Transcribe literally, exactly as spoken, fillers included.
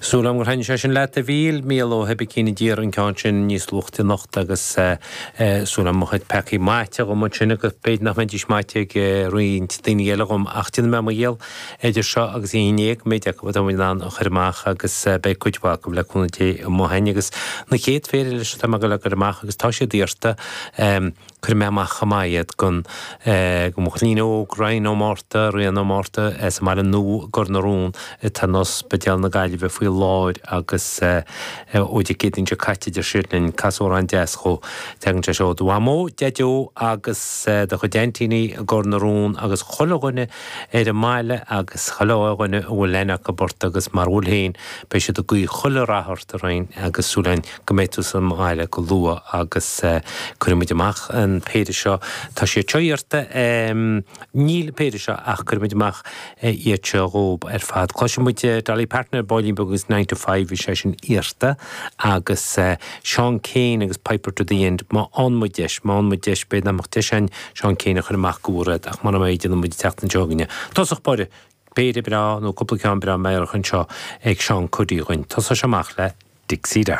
Súil agam gur thaitnigh sé sin leat a Mhíl, Mícheál Ó hOibicín a d'iarr an ceann sin níos luaithe anocht agus súil agam mo chuid peacaí maite dhom ansin agus b'fhéidir nach mbeidís maite ag roinnt daoine eile dhom ach déanfaidh mé mo dhícheall idir seo agus a haon déag méid acu atá in ann a chur amach agus beidh cuid mhaith acu le cúnamh Dé amuigh againn agus na chéad phéire leis atá mé ag dul a chur amach agus tá siad iarrta. Cuirfidh mé amach chomh maith iad don do mo chailín óg, Ryan Ó Márta, Rian Ó Márta, sa mBaile Nua i gCor na Rón, atá in Ospidéal na Gaillimhe faoi láthair agus ó Dé Céadaoin seo caite deir siad linn, cas amhrán deas dhó. Tagann sé seo ó do mhamó, Deaideo agus do chuid aintíní i gCor na Rón agus chuile dhuine ar an mbaile agus chuile dhuine a bhfuil aithne acu ort agus mar bhfuil féin, beidh siad ag guí chuile rath ort, a Ryan, agus súil againn go mbeidh tú sa mbaile go luath agus cuirfidh muid amach an péire seo. Tá siad seo iarrta, níl an péire seo ach cuirfidh muid amach iad seo dhób ar fad. Cloisfidh muid Dolly Parton ar baillín beag agus Nine to Five, bhí sé sin iarrta agus Seán Keane agus Piper to the End. Má fhaigheann muid deis, má fhaigheann muid deis, b'fhéidir nach mbeadh deis againn Seán Keane a chur amach go bhfuair ach mura mbeidh, déanfaidh muid an tseachtain seo chugainn. Tosach báire, péire breá nó cúpla ceann breá meidhreach anseo ag Seán Cody dhúinn. Tosóidh sé amach le Dixie Darling.